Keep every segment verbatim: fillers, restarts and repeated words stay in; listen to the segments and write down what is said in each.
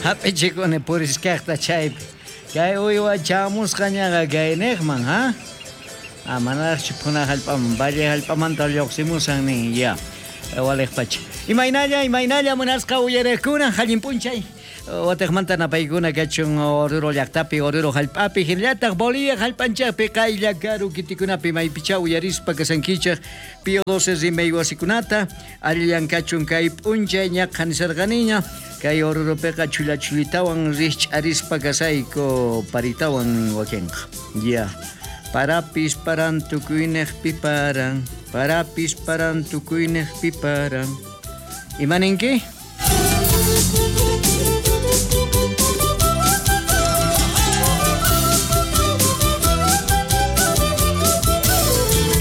Hap'ichikuni puriskaqta chaypi. Kay uywa chamusqañaqa kayniqman, ha? Ah, manaraqchu phuna hallp'aman, valle hallp'amanta lluqsimusan nin, ya. Waliqpacha. Imaynalla, imaynalla munasqa uyariqkuna, allin p'unchay. Wataqmanta napaykuna kachun Oruro llaqtapi, Oruro hallp'api, hinallataq Bolivia hallp'anchaqpi, qaylla karu kitikunapi maypicha uyarispa kasankichaq Pío doce rimay wasikunata, allillan kachun kay p'unchay ñaqa nisarqaniña, kay Oruropiqa chulla chullitawan rikch'arispa kasayku paritawan wakinqa. Ya. Parapis paran tukuyniqpi paran, parapis paran tukuyniqpi paran. Imaninki?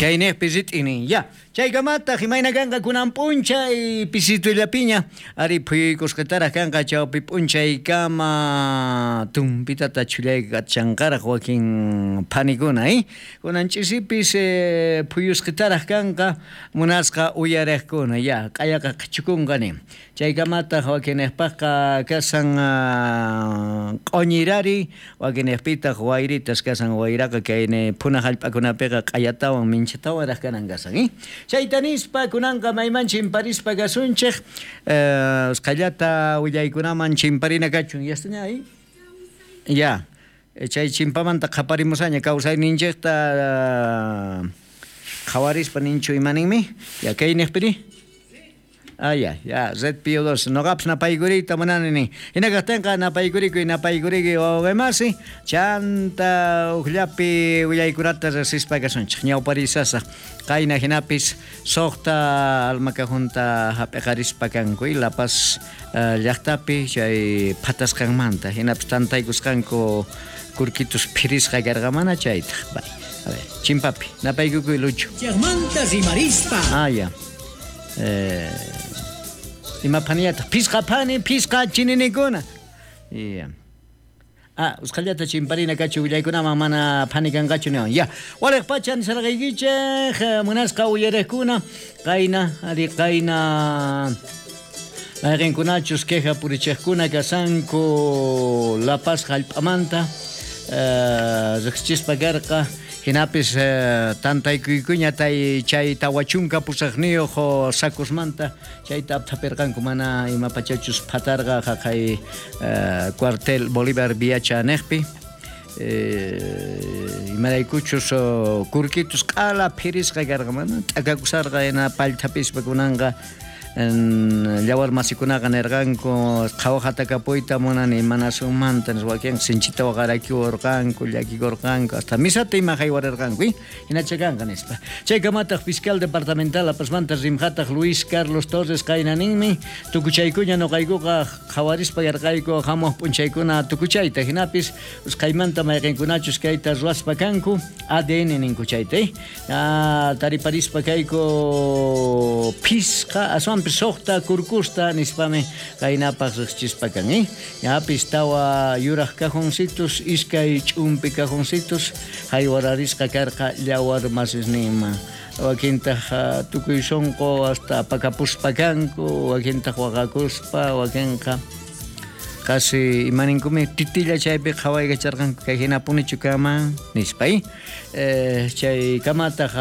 Kayniqpi rit'inin, ya. Chaykamataq imayna kanqa kunan p'unchay pisitullapiña, ari phuyuykusqataraq kanqa chawpi p'unchaykama tumpitata chhullaykachanqaraq wakin phanikuna, eh? Kunan ch'isipis eh, phuyusqataraq kanqa munasqa uyariqkuna, ya, q'ayaqa qhichukunqa nin. Chaykamataq wakinniqpaqqa kasan q'uñirari, wakinniqpitaq wayritas kasan wayraqa kayni phuna hallp'akunapiqa q'ayatawan minchatawanraq kanan kasan, eh? Chayta nispa kunanqa mayman chimparispa kasunchik, eh, usqhayllata willaykunaman chimparina kachun, yastaña ahí? Ya, chay chimpamanta qhaparimusaña kawsayninchikta qhawarispa ninchu imaninmi? Ya, kayniqpiri? Ah, ya, ya, Red Pío doce. Noqapis napaykuriyta munani nin. Hina kaqtinqa napaykurikuy, napaykurikuy wawqimasi, chanta uqllapi willaykunata riqsispa kasunchik. Ñawparisasaq. Qayna hinapis suqta almakajunta hap'iqarispa kanku, La Paz uh, llaqtapi chay phatasqanmanta. Hinapis tantaykusqanku kurkitus phirisqa karqa mana chaytaq. Bay. A ver, chimpapi, napaykukuy Lucho. Chaqmanta rimarispa. Ah, ya. Eh, ima phaniyataq phisqa phani phisqa chininikuna. Ya. Ah, usqhayllata chimparina kachu willaykunaman mana phani kanqachu niwan. Ya, waliq pacha nisarqaykichik munasqa uyariqkuna, qayna ari qayna mayqinkunachus queja purichiqkuna kasanku La Paz hallp'amanta, eh, riqsichispa karqa. Hinapis eh, tantaykuykuña tay chay tawachunka pusaqniyuq sacosmanta chayta apthapirqanku mana ima pachachus phatarqa haqay eh, cuartel Bolívar Viacha niqpi. Eh, imaraykuchus kurkitus q'ala phirisqa karqa mana t'akakusarqa hina pallthapispa kunanqa llawar masikunaqa nirqanku qhawaqatakapuyta munani imanasunmanta nispa wakinqa sinchita waqarakiwarqanku llakikurqanku hasta misata ima haywarirqanku, hinacha kanqa nispa. Chaykamataq fiscal departamental La Pazmanta rimqataq Luis Carlos Torres qayna ninmi tukuchaykuña nuqaykuqa qhawarispa yarqayku hamuq p'unchaykuna tukuchayta hinapis usqhaymanta mayqinkunachus kayta ruwaspa kanku A D N ninku chayta, eh? Ah, tariparispa kayku phisqa aswan suqta kurkusta nispami qaynapaq riqsichispa kan, eh? Yapis tawa yuraq cajoncitos, iskay ch'umpi cajoncitos haywararisqa karqa llawar masisninman. Wakintaq tukuy sunqu hasta pakapuspa kanku, wakintaq waqakuspa, wakinqa casi imaninkumi titilla chaypi qhawaykacharqanku kay hinapunichu kaman nispa, eh? Eh, chay kamataq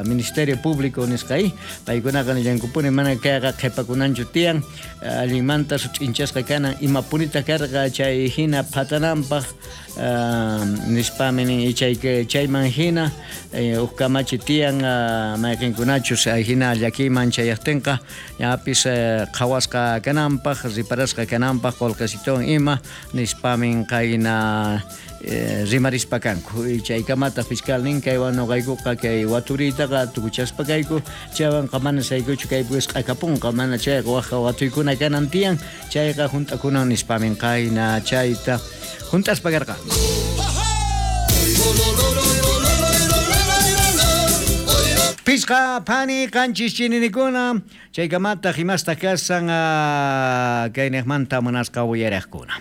Ministerio Público nisqa, eh? Paykunaqa nillankupuni mana kayqa qhipakunanchu tiyan, allinmanta sut'inchasqa kanan imapunita karqa chay hina phatananpaq, uh, nispami nin chay chayman hina eh, huk kamachi tiyan uh, mayqinkunachus hina llakiyman chayaqtinqa yapis eh, qhawasqa kananpaq riparasqa kananpaq qullqisituwan ima nispamin qayna eh, rimarispa kanku. Chaykamataq fiscal nin kaywan nuqaykuqa kay waturiytaqa tukuchaspa kayku chaywanqa mana saykuchu kaypi wisq'akapunqa mana chayqa waqqa watuykuna kanan tiyan chayqa hunt'akunan nispamin qayna chayta hunt'aspa karqa. Pisqa phani qanchis chininikuna chaykamataq imasta kasan kayniqmanta munasqa uyariqkuna.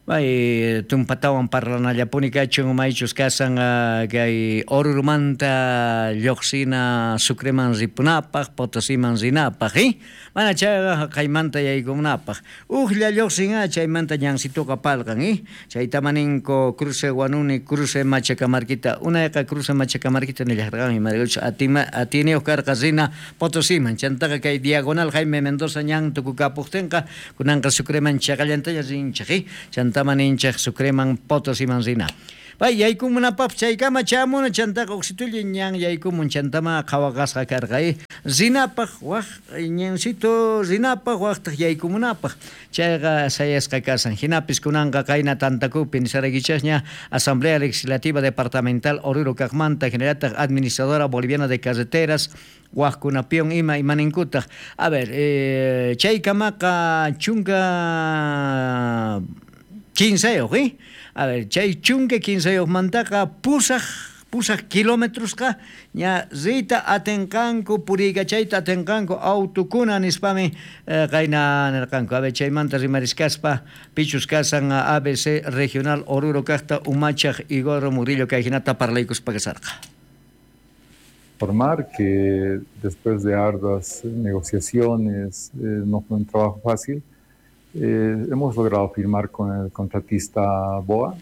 Bay tumpatawan parlanallapuni kachun maychus kasan kay Orurumanta lluqsina Sucreman ripunapaq, Potosiman rinapaq, eh? Mana chayqa kaymanta yaykunapaq. Ujlla lluqsin chaymanta ñansituqa palqan, eh? Chaytama ninku cruce Huanuni, cruce Machacamarquita. Unayqa cruce Machacamarquita nillarqan imaraykuchus atima atiniyuq karqa rina Potosiman. Chantaqa kay diagonal Jaime Mendoza ñan tukukapuqtinqa kunanqa Sucreman chaqallantaña rinchik, eh? Chantama ninchik Sucreman Potosiman rina. Bay yaykumunapaq chaykama chamuna chantaqa uqsitulla ñan yaykumun chantama qhawaqasqa karqa, eh? Rinapaq waq ñansito rinapaq waqtaq yaykumunapaq chayqa sayasqa kasan. Hinapis kunanqa qayna tantakupi nisaraykichasña Asamblea Legislativa Departamental Oruro kaqmanta hinallataq Administradora Boliviana de Carreteras waqkunapiwan ima imaninkutaq. A ver, eh, chaykamaqa chunka kinsayuq, eh? A ver, chay chunka kinsayuqmantaqa pusaq pusaq kilometrosqa ña riyta atinqanku puriykachayta atinqanku autukuna nispami eh, qayna nirqanku. A ver, chaymanta rimariskaspa pichus kasan A B C Regional Oruro kaqta umachaq Igor Murillo kay hinata parlaykuspa kasarqa. Informar que después de arduas negociaciones, eh, no fue un trabajo fácil, Eh, hemos logrado firmar con el contratista B O A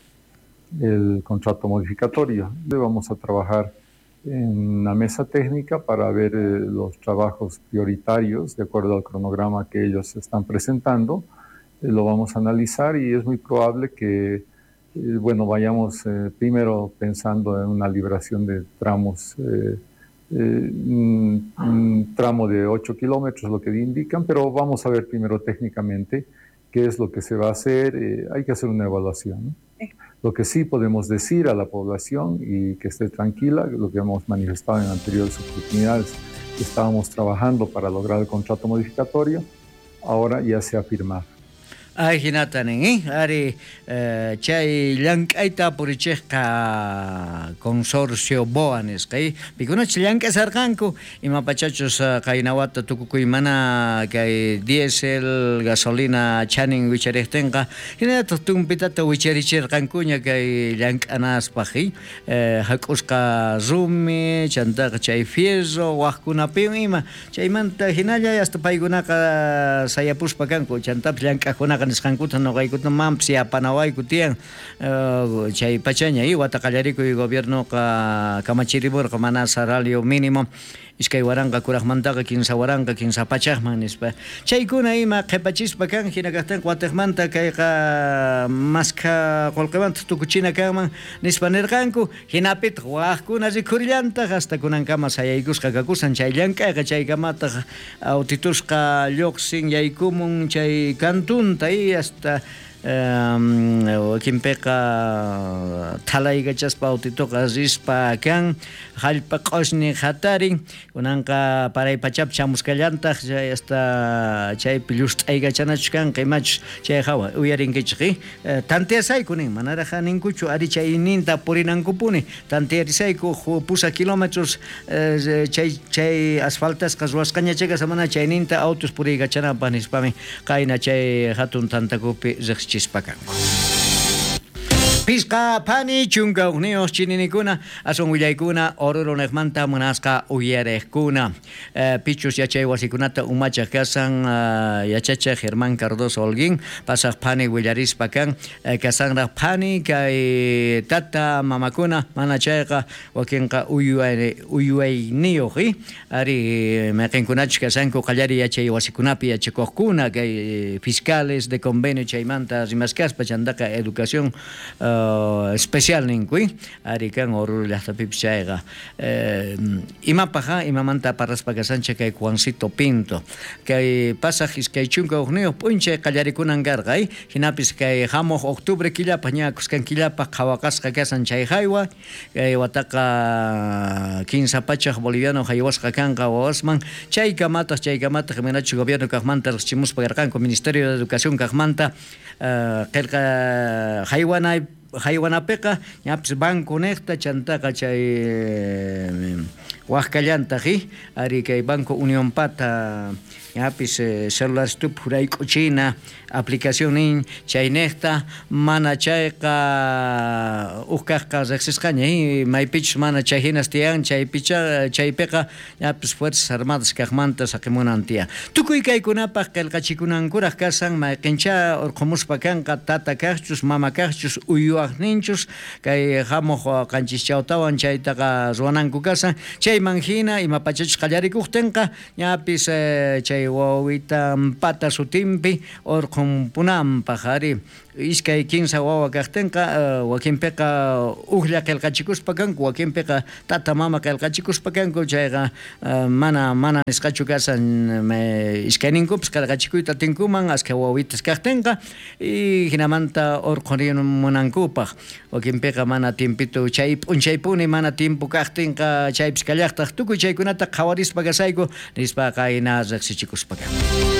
el contrato modificatorio. Vamos a trabajar en una mesa técnica para ver eh, los trabajos prioritarios de acuerdo al cronograma que ellos están presentando. Eh, lo vamos a analizar y es muy probable que eh, bueno, vayamos eh, primero pensando en una liberación de tramos, eh, Eh, un, un tramo de ocho kilómetros, lo que indican, pero vamos a ver primero técnicamente qué es lo que se va a hacer. Eh, hay que hacer una evaluación, ¿no? Sí. Lo que sí podemos decir a la población y que esté tranquila, lo que hemos manifestado en anteriores oportunidades, que estábamos trabajando para lograr el contrato modificatorio, ahora ya se ha firmado. Ay, hinata nin, eh? Ari, eh, chay llank'ayta purichejqa consorcio B O A nisqa, eh? Pikunachus llank'asarqanku, imapachachus qaynawata tukukuy mana kay diésel, gasolina chanin wichariqtinqa, hinallataq tumpitata wicharichirqankuña kay llank'anaspaq, eh? Eh, hak'usqa rumi, chantaqa chay fierro, waqkunapiwan ima, chaymanta hinalla hasta paykunaqa sayapuspa kanku, chantapis llank'aqkunaqa nisqankuta noqaykuta mampis yapanawayku tiyan, uh, chay pachaña y wata qallarikuy gobiernoqa kamachirimurqa mana salario mínimo iskay waranqa kuraqmantaqa kinsa waranqa kinsa pachaqman nispa. Chaykuna ima qhipachispa kan hina kaqtinqa watiqmanta kayqa maskha qullqimanta tukuchina kanman nispa nirqanku. Hinapitaq waqkuna rikhurillantaq hasta kunankama sayaykusqa kakusan chay llank'ayqa chaykamataq autitusqa lluqsin yaykumun chay kantunta y hasta wakinpiqa thalaykachaspa autituqa rispa kan hallp'a q'ushni hatarin kunanqa paray pachapi chamuskallantaq chay hasta chaypi llust'aykachanachus kanqa imachus chay hawa uyarinkichik, eh? Tanteasayku nin manaraq ninkuchu ari chayninta purinankupuni tantearisayku pusaq kilómetros eh, chay chay asfaltasqa ruwasqaña chayqa samana chayninta autos puriykachanapaq nispami qayna chay hatun tantakupi riqsichik chispakanku. Pisqa phani chunka hukniyuq chininikuna aswan willaykuna Oruro niqmanta munasqa uyariqkuna. Eh, pichus yachay wasikunata umachaq kasan uh, yachachaq Germán Cardoso Holguín pasaq phani willarispa kan eh, kasanraq phani kay tata mamakuna mana chayqa wakinqa uyway uywayniyuq, eh? Ari mayqinkunachus kasanku qallari yachay wasikunapi yachakuqkuna kay fiscales de convenio chaymanta rimaskaspa chantaqa educación uh, Uh, especial ninkuy ari kan Oruro llaqtapipis chayqa eh, imapaq imamanta parlaspa kasanchik kay Juancito Pinto kay pasaq iskay chunka hukniyuq p'unchay qallarikunan karqa, eh? Hinapis kay hamuq octubre killapaq ña kuskan killapaq qhawaqasqa kasan chay haywa kay wataqa kinsa pachaq boliviano haywasqa kanqa wawasman chaykamataq chaykamataq imaynachus gobierno kaqmanta riqsichimuspa karqanku Ministerio de Educación kaqmanta uh, qillqa haywanay haywanapiqa ñapis banco niqta chantaqa chay waqkallantaq, eh? Ari kay Banco Unión Pata ñapis celular stup hurayk'uchina Aplicación nin chaynejta mana chayqa uj kajqa rejsisqaña maypichus mana chay hinas tiyan chaypicha chaypiqa ñapis Fuerzas Armadas kajmanta saqimunan tiyan. Tukuy kaykunapaq qillqachikunankuraq kasan mayqincha urqhumuspa kanqa tata kajchus mama kajchus uywaqninchus kay hamuq qanchischawtawan chaytaqa ruwananku kasan chayman hina ima pachachus qallarikuqtinqa ñapis chay wawitanpata sutinpi urqhunpunanpaq ari iskay kinsa wawa kajtinqa wakinpiqa ujlla qillqachikuspa kanku wakinpiqa tata mama qillqachikuspa kanku chayqa mana mana nisqachu kasan iskayninkupis qillqachikuyta atinkuman askha wawitas kajtinqa y hinamanta urqhurimunankupaq wakinpiqa mana tiempito chay p'unchaypuni mana tiempo kajtinqa chaypis kallaqtaq tukuy chaykunata qhawarispa kasayku nispa qayna riqsichikuspa kanku.